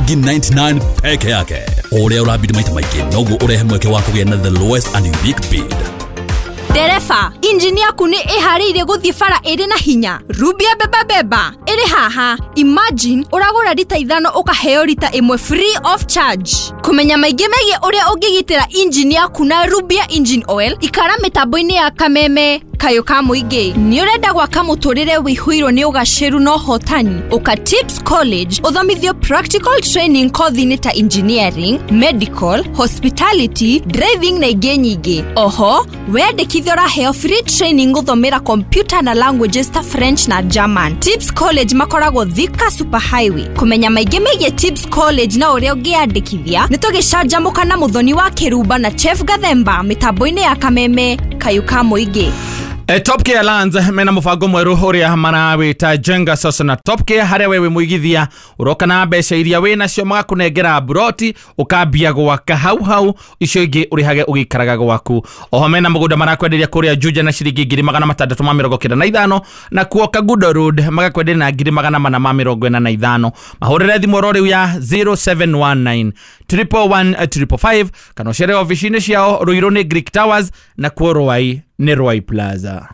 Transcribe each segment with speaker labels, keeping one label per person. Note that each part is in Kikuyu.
Speaker 1: Ciringi 99 peke yake. O ũrĩa ũrabidi maita maingĩ noguo ũrehe mweke wa kũgĩa na the lowest and unique bid.
Speaker 2: Ndereba, injini yaku nĩ ĩharĩirie gũthiĩ bara ĩrĩ na hinya. Rubia beba beba ĩrĩ haha. Imagine ũragũra rita 5 ũkaheo rita 1 free of charge. Kũmenya maingĩ megiĩ ũrĩa ũngĩgitĩra injini yaku na Rubia engine oil, ikara mĩtambo-inĩ ya Kameme Kayũ ka Mũingĩ. Nĩ ũrenda gwaka mũtũrĩre wĩihũirwo nĩ ũgacĩru na ũhotani? Ũka Tips College ũthomithio practical training kothi-inĩ ta engineering, medical, hospitality, driving na ingĩ nyingĩ. Oho, weyandĩkithia ũraheo free training gũthomera computer na languages ta French na German. Tips College makoragwo Thika Super Highway. Kũmenya maingĩ megiĩ Tips College na ũrĩa ũngĩyandĩkithia, nĩ tũgĩcanjamũka na Mũthoni wa Kĩrumba na Chef Gathemba mĩtambo-inĩ ya Kameme Kayũ ka Mũingĩ.
Speaker 3: Top Care Lands mena mũbango mwerũ ũrĩa marawĩta Jenga Sasa na Top Care, harĩa wewe mũigithia ũroka na mbeca iria wĩ nacio magakũnengera buroti ũkambia gwaka hau hau, icio ingĩ ũrĩhage ũgĩikaraga gwaku. Oho mena mũgũnda marakwenderia kũrĩa Juja na ciringi 695,000, na kuo Kagudo Road magakwenderia na 445,000. Mahũrĩre thimũ oro rĩu ya 0719 111 555 kana ũcere ofici-inĩ ciao Ruiru nĩ Greek Towers na kuo Ruai nĩ Ruai Plaza.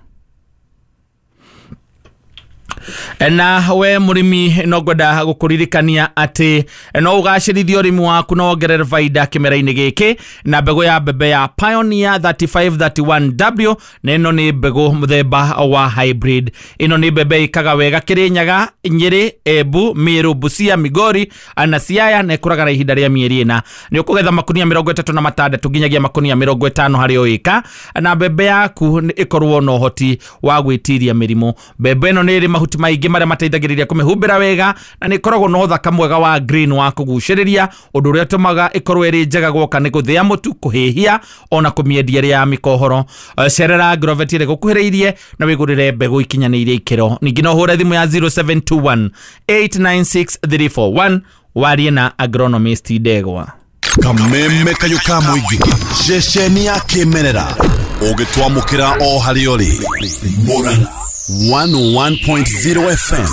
Speaker 3: Na we mũrĩmi no ngwenda gũkũririkania atĩ no ũgacĩrithie ũrĩmi waku na wongerere baida kĩmera-inĩ gĩkĩ na mbegũ ya mbembe ya Pioneer 3531W, na ĩno nĩ mbegũ mũthemba wa hybrid. Ĩno nĩ mbembe ĩkaga wega Kĩrĩnyaga, Nyĩrĩ, Embu, Meru, Busia, Migori na Siaya, na ĩkũraga na ihinda rĩa mĩeri 4. Nĩ ũkũgetha makunia 36 nginyagia makunia 50 harĩ o ĩka, na mbembe yaku ĩkorwo na ũhoti wa gwĩtiria mĩrimũ. Mbembe ĩno nĩ ĩrĩ mahuti maingĩ marĩa mateithagĩrĩria kũmĩhumbĩra wega, na nĩ ĩkoragwo na ũthaka mwega wa green wa kũgucĩrĩria, ũndũ ũrĩa ũtũmaga ĩkorwo ĩrĩ njega gwoka nĩ gũthĩa mũtu, kũhĩhia ona kũmĩendia ĩrĩ ya mĩkohoro. Cerera Agrovet ĩrĩa ĩgũkuhĩrĩirie na wĩgũrĩre mbegũ ikinyanĩirie ikĩro. Ningĩ no ũhũre thimũ ya 0721 896 341 warie na agronomist Ndegwa.
Speaker 1: Kameme Kayũ ka Mũingĩ, ceceni ya kĩmerera ũgĩtwamũkĩra o harĩa ũrĩ. Murang'a 101.0 FM.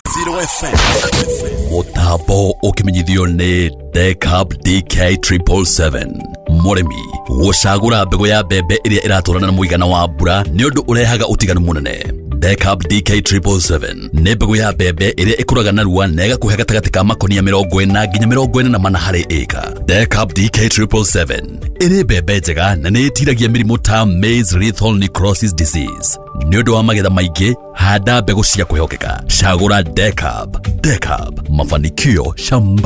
Speaker 1: Mũtambo ũkĩmenyithio nĩ Decab DK 777. Mũrĩmi gũcagũra mbegũ ya mbembe ĩrĩa ĩratwarana na mũigana wa mbura nĩ ũndũ ũrehaga ũtiganu mũnene. Decab DK 777 nĩ mbegũ ya mbembe ĩrĩa ĩkũraga narua na ĩgakũhe gatagatĩ ka makonia 40 nginya 44 harĩ ĩka. Decab DK 777 ĩrĩ mbembe njega na nĩ ĩtiragia mĩrimũ ta maize lethal necrosis disease. Nĩ ũndũ wa magetha maingĩ, handa mbegũ cia kwĩhokeka. Cagũra Decab. Decab, mafanikio shambani.